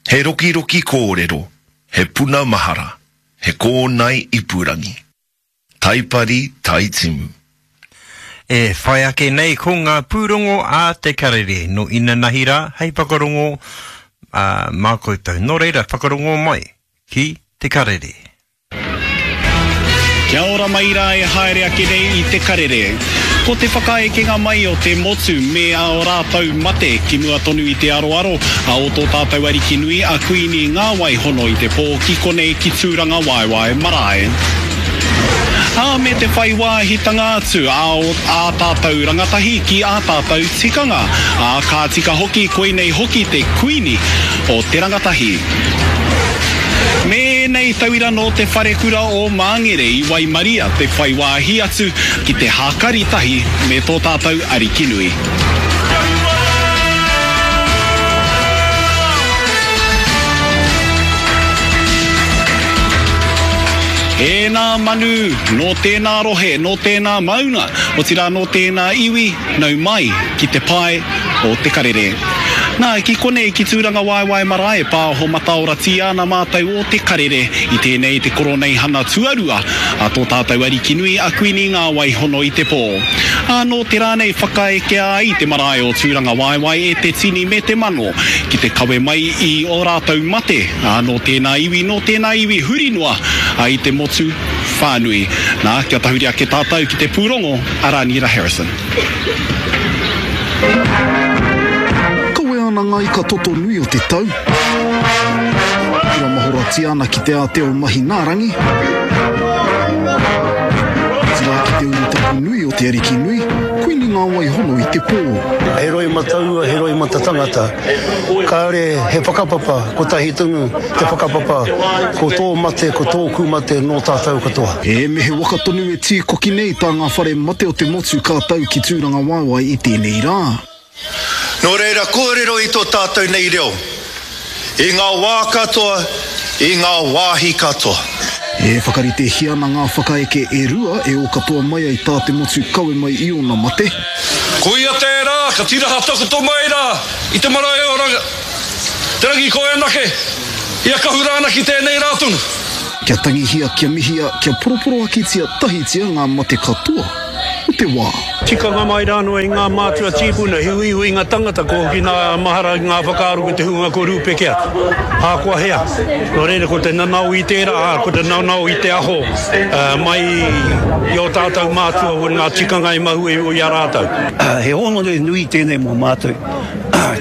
He rokiroki kōrero, he puna mahara, he kōnae ipurangi. Taipari, Taitimu. E whai ake nei ko ngā pūrongo a Te Karere nō inanahi rā hei whakarongo mā koutou. Nō reira, whakarongo mai ki Te Karere. Kia ora mai rā e haere ake nei i Te Karere. Ko te whakaekenga mai o te motu me ā rātou mate ki mua tonu i te aroaro a o tō tātou Ariki nui a Kuini Ngāwai hono i te pō ki konei ki Tūrangawaewae marae. Ā, me te whai wāhitanga atu a o ā tātou rangatahi ki ā tātou tikanga. Ā, ka tika hoki koinei hoki te Kuini o te rangatahi. Me ēnei tauira nō te wharekura o Māngere i waimaria te whai wāhi atu ki te hākari tahi me tō tātou Arikinui. Ēnā manu, nō tēnā rohe, nō tēnā maunga, otirā nō tēnā iwi, nau mai ki te pae o Te Karere. Nā, ki konei ki Tūrangawaewae marae e pāho mataoratia ana mātou o Te Karere i tēnei te koroneihana tuarua a tō tātou Arikinui a Kuini Ngāwaihono i te pō. Ā, nō te rā nei whakaekea ai te marae o Tūrangawaewae e te tini me te mano ki te kawe mai i ō rātou mate, ā, nō tēnā iwi, nō tēnā iwi huri noa i te motu whānui. Nā, kia tahuri ake tātou ki te pūrongo a Rāniera Harrison. Kawea ana ngā ika toto nui o te tau. Kura mahoratia ana ki te ātea o Mahinaarangi. Otirā ki te urutapu nui o te Ariki nui, Kuini Ngāwaihono i te pō. He roimata ua, he roimata tangata. Kāore he whakapapa, kotahi tonu te whakapapa, ko tō mate, ko tōku mate nō tātou katoa. E me he waka tonu e tīkoki nei tā ngā whare mate o te motu ka tau ki Tūrangawaewae i tēnei rā. Nō reira kōrero i tō tātou nei reo i ngā wā katoa, i ngā wāhi katoa. E whakaritehia ana ngā whakaeke e rua e ō katoa mai ai tā te motu kawe mai i ōna mate. Ko ia tērā ka tiraha takoto mai rā i te marae o Te Rangikoeanake, i a Kahurānaki tēnei rā tonu. Kia tangihia, kia mihia, kia poroporoakitia tahitia ngā mate katoa o te wā. Tikanga mai rānō i ngā mātua tīpuna, he uiuinga tangata kua hoki nā mahara ki ngā whakaaro ki te hunga kua rūpeke atu, ahakoa hea. Nō reira ko te nanao i tērā, ā, ko te nanao i te aho mai i ō tātou mātua o ngā tikanga i mahue i a rātou. He hōnore nui tēnei mō mātou,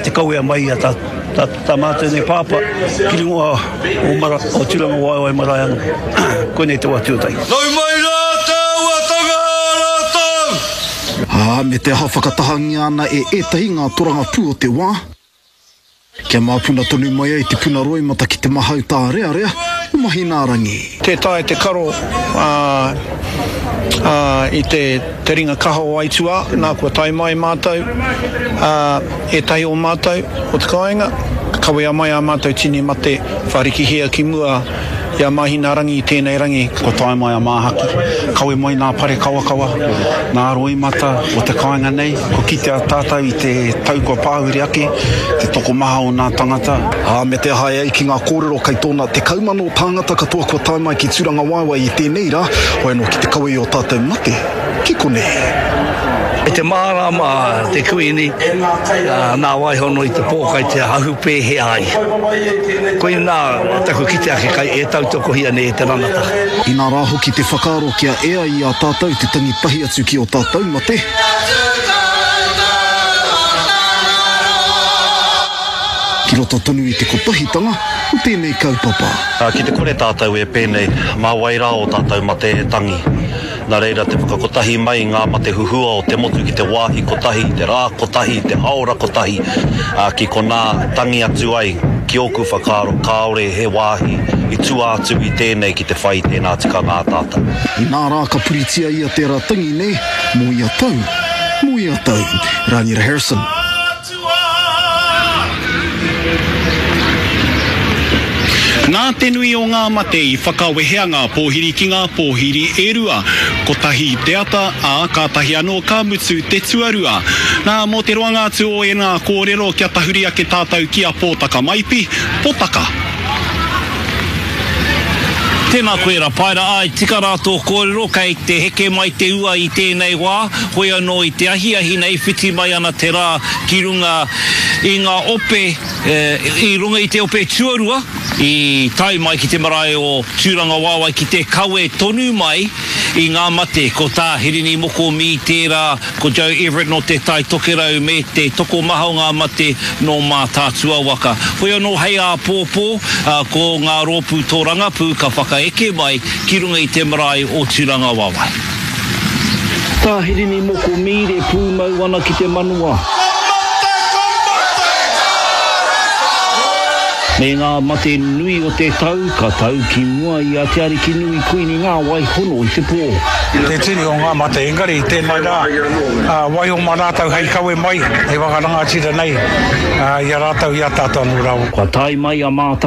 te kawea mai i a tā mātou nei pāpā ki runga o Mara, o Tūrangawaewae marae anō. Koinei te wā tuatahi. Nau mai rā te auatanga a rātou! Ā, me te aha whakatahangia ana e ētahi ngā torangapū o te wā, kia māpuna tonu mai ai te puna roimata ki te mahau tārearea o Mahinaarangi. Tē taea te karo i te ringa kaha o aituā, nā kua tae mai mātou, ētahi o mātou o te kāinga, ka kawea mai ā mātou tini mate wharikihia ki mua i a Māhinaarangi i tēnei rangi. Kua tae mai a Māhaki, kawe mai nā pare kawakawa, nā roimata o te kāinga nei, kua kitea tātou i te tau kua pāhure ake, te tokomaha o nā tangata. Ā, me te aha e ai ki ngā kōrero kei tōna 10,000 tāngata katoa kua tae mai ki Tūrangawaewae i tēnei rā, hoi anō ki te kawe i ō tātou mate ki konei. I te mārāma te Kuini, nā Waihono i te pōkai te ahu pēhea ai. Koinā taku kite ake kai e tautokohia nei e te ranata. Inā rā hoki te whakaaro kia ea i a tātou te tangi tahi atu ki ō tātou mate. Ki roto tonu i te kotahitanga o tēnei kaupapa. Ki te kore tātou e pēnei, mā wai rā ō tātou mate e tangi? Nā reira te whakakotahi mai i ngā mate huhua o te motu ki te wāhi kotahi, te rā kotahi, te haora kotahi, ā, ki konā tangi atu ai, ki ōku whakaaro kāore he wāhi i tua atu i tēnei ki te whai i tēnā tikanga a tātou. Inā rā ka puritia ia tērā tangi nei mō ia tau, mō ia tau. Rāniera Harrison. Nā. Nā te nui o ngā mate i whakawehea ngā pōhiri ki ngā pōhiri e rua, kotahi i te ata, ā, kātahi anō ka mutu te tuarua. Nā, mō te roanga atu o ēnā kōrero kia tahuri ake tātou ki a Pōtaka Maipi, Potaka. Tēnā koe Rapaera, āe tika rā tō kōrero, kei te heke mai te ua i tēnei wā, hoi anō i te ahiahi nei whiti mai ana te rā ki runga i ngā ope, i runga i te ope tuarua i tae mai ki te marae o Tūrangawaewae ki te kawe tonu mai i ngā mate, ko tā Hirini Moko Mī tērā, Ko Joe Everett nō Te Tai Tokerau me te tokomaha o ngā mate nō Mātaatua waka. Hoi anō hei āpōpō, ko ngā rōpū tōrangapū ka whakaeke mai ki runga i te marae o Tūrangawaewae. Tā Hirini Moko Mīre pūmau ana ki te manawa. Me ngā mate nui o te tau ka tau ki mua i a Te Arikinui Kuini Ngāwai hono i te pō. Te tini o ngā mate, engari i tēnei rā, waiho mā rātou hei kawe mai, hei whakarangatira nei i a rātou, i a tātou anō rā. Kua tae mai a Mātāwai.